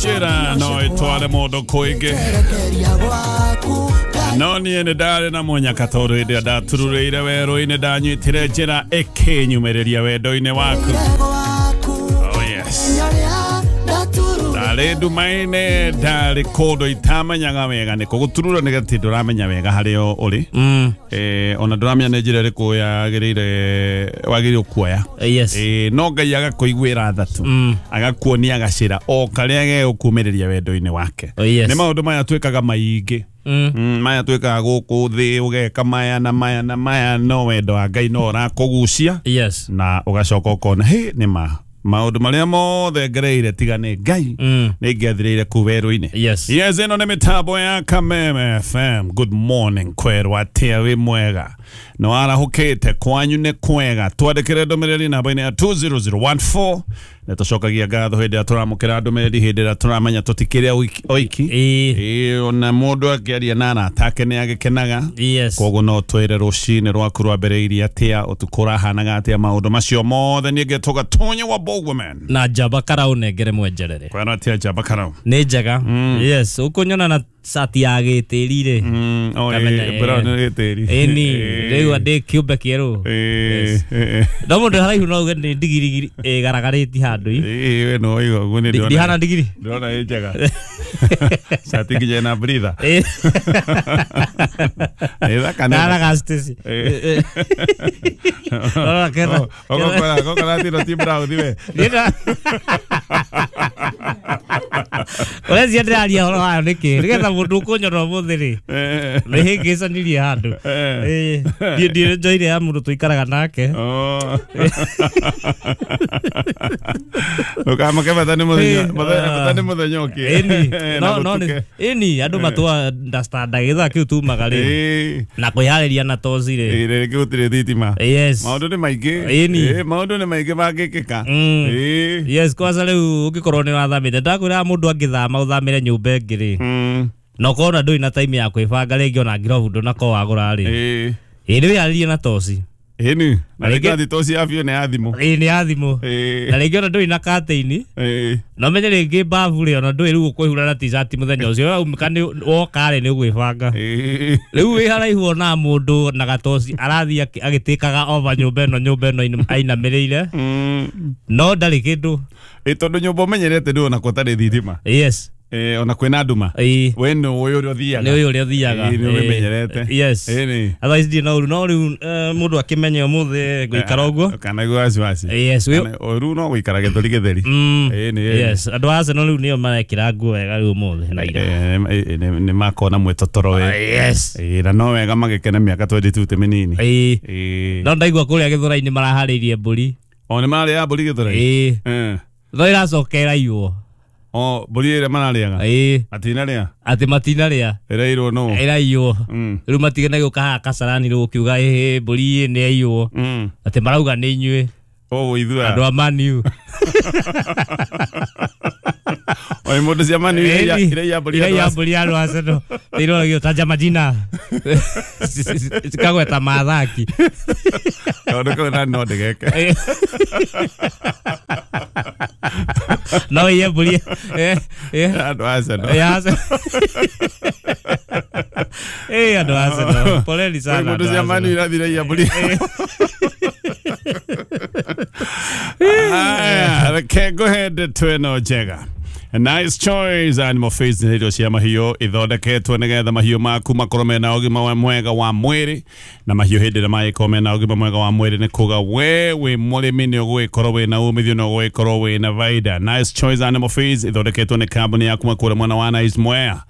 Njĩra no ĩtware mũndũ kũingĩ, no niĩ nĩ ndarĩ na mũnyaka tondũ hĩndĩ ĩrĩa ndatururĩire werũ-inĩ ndanyitire njĩra ĩkĩnyumĩrĩria wendo-inĩ waku. Oh yes. Ndarĩ nduma-inĩ, ndarĩ kũndũ itamenyaga wega nĩkũ. Gũturura nĩ atĩ ndũramenya wega harĩa ũrĩ. Ona ndũramenya nĩ njĩra ĩrĩkũ yagĩrĩire wagĩrĩirwo kuoya. Yes. No Ngai agakũiguĩra tha tu, agakuonia gacĩra o karĩa gegũkumĩrĩria wendo-inĩ wake. Oh, yes. Nĩ maũndũ maya twĩkaga maingĩ. Maya twĩkaga gũkũ thĩ, ũgeka maya na maya na maya, no wendo wa Ngai no ũrakũgucia. Yes. Na ũgacoka ũkona hĩ nĩ ma maũndũ marĩa mothe ngereire tiga nĩ Ngai nĩ ngĩathirĩire kũu werũ-inĩ. Yes. Yes, ĩno nĩ mĩtambo ya Kameme FM. Good morning, kwerwo atĩa, wĩ mwega? Nĩ warahũkĩte, kwanyu nĩ kwega? Twandĩkĩre ndũmĩrĩri namba-inĩ ya 20014. Nĩ tũcokagia ngatho hĩndĩ ĩrĩa tũramũkĩra ndũmĩrĩri, hĩndĩ ĩrĩa tũramenya tũtikĩrĩ oiki. Ĩĩ. Ĩĩ, ona mũndũ akĩaria na arata ake nĩ agĩkenaga. Yes. Koguo no twĩre rũcinĩ rwaku rwambĩrĩirie atĩa, ũtukũ ũrahanaga atĩa, maũndũ macio mothe. Niĩ ngetwo Gatonye wa Bogwoman. Na Njamba Karau nengere mwenjerere. Kwĩra atĩa, Njamba Karau? Nĩ njega. Yes, ũkũnyona na cati ya gĩtĩri rĩ. Oh, Kamenya, brown nĩ gĩtĩri. Ĩni, rĩu ndĩ kĩũmbe kĩerũ. Yes. No mũndũ haraihu no uge nĩ ndigiri ĩgaragarĩtie handũ i. We no ũigua ũguo nĩ ndĩrona. Ndihana ndigiri. Ndĩrona ĩ njega. Cati nginya ĩna breather. Ĩ. Ĩ thaka nĩ. Ndaraga Stacy. Rora kera. Ogokora tino ti brown we. Ndĩra. Ũrecia ndĩraria ũhoro wayo nĩkĩ? Nĩgetha mũndũ ũkũnyona ũmũthĩ rĩ. Nĩ hĩngĩcanirie handũ. Ĩ, niĩ ndirĩ njoire ya mũndũ tũikaraga nake. Oh. Ndũkamake bata nĩ mũthenya, bata nĩ mũthenya ũkĩ. Ĩni, Na no gũtuke. ĩni andũ matua understand gĩthaa kĩu tumaga rĩ. Na kwĩharĩria na toci rĩ. Rĩngĩ gũtirĩ thitima. Yes. Maũndũ nĩ maingĩ. Ĩni. Maũndũ nĩ maingĩ mangĩkĩka. Yes, kwanza rĩu ũngĩkorwo nĩ wathamĩte, ndakwĩra mũndũ angĩthama ũthamĩre nyũmba ĩngĩ rĩ. Na ũkorwo na ndũrĩ na time ya kwĩbanga rĩngĩ, ona ngirobu ndũnakorwo wagũra rĩ. Ĩ nĩ wĩharĩrie na toci. Ĩni. Na Na rĩngĩ toci ya biũ nĩ ya thimũ. Ĩ nĩ ya thimũ. Na rĩngĩ ona ndũrĩ na curtain. Na ũmenye rĩngĩ babu rĩ, ona ndũĩ rĩu ũkwĩhura na t-shirt mũthenya ũcio. Waumĩka nĩ woka rĩ, nĩ ũgwĩbanga. Rĩu wĩ haraihu ona mũndũ na gatoci arathiĩ agĩtĩkaga over nyũmba ĩno, nyũmba ĩno ainamĩrĩire. No ndarĩ kĩndũ. Ĩ tondũ nyũmba ũmenyerete ndũĩ ona gũtarĩ thitima. Yes. Ona kwĩna nduma. Ĩ. We nĩ ũĩ ũrĩa ũthiaga. Nĩ ũĩ ũrĩa ũthiaga. Ĩ, nĩ ũmĩmenyerete. Yes. Ĩni. Otherwise ndirĩ na ũru, no rĩu mũndũ akĩmenya ũmũthĩ ngũikara ũguo. Kana igua wasiwasi. Yes. Kana ũru no gũikara gĩthũri gĩtheri. Ĩni, ĩni. Yes, andũ a Arsenal rĩu nĩo marekĩra nguo wega rĩu ũmũthĩ na ira. Nĩ makona mwĩtotoro we. Yes. Na no wega magĩkena mĩaka 22 ti mĩnini. Ĩ. Ĩ. No ndaigua kũrĩa Gĩthũrai-inĩ maraharĩirie mbũri. O nĩ mararĩaga mbũri Gĩthũrai? Ĩ. No ĩracoka ĩraiywo. O mbũri ĩrĩa mararĩaga? Ĩ. Matinarĩa? Atĩ matinarĩa. Ĩrairwo nũ? Ĩraiywo. Rĩu matigana gũka haha Kasarani rĩu ũkiuga ĩhĩ mbũri nĩ yaiywo. Atĩ marauga nĩ inyuĩ. O ithuĩ. Andũ a Man U. Oi mũndũ cia Man U iraiya mbũri andũ Iraiya a mbũri andũ a Arsenal. Ĩroragio tanja majina. Cikagweta mathaki. Kaũndũ kau na no ndĩgeke. No iye mbũri. Andũ a Arsenal. Ya Arsenal. Andũ a Arsenal. Poleni sana Oi mũndũ andũ a cia Man U Arsenal. irathi iraiya mbũri. Aya, reke ngũhe ndeto ĩno njega. Nice Choice Animal Feeds nĩ irio cia mahiũ ithondeketwo nĩgetha mahiũ maku makorwo mena ũgima mwega wa mwĩrĩ, na mahiũ hĩndĩ ĩrĩa magĩkorwo mena ũgima mwega wa mwĩrĩ nĩ kuga we wĩ mũrĩmi nĩ ũgũgĩkorwo wĩna umithio na ũgũgĩkorwo wĩna baida. Nice Choice Animal Feeds ithondeketwo nĩ kambuni ya kuma kũrĩa mwena wa Nice Mwea.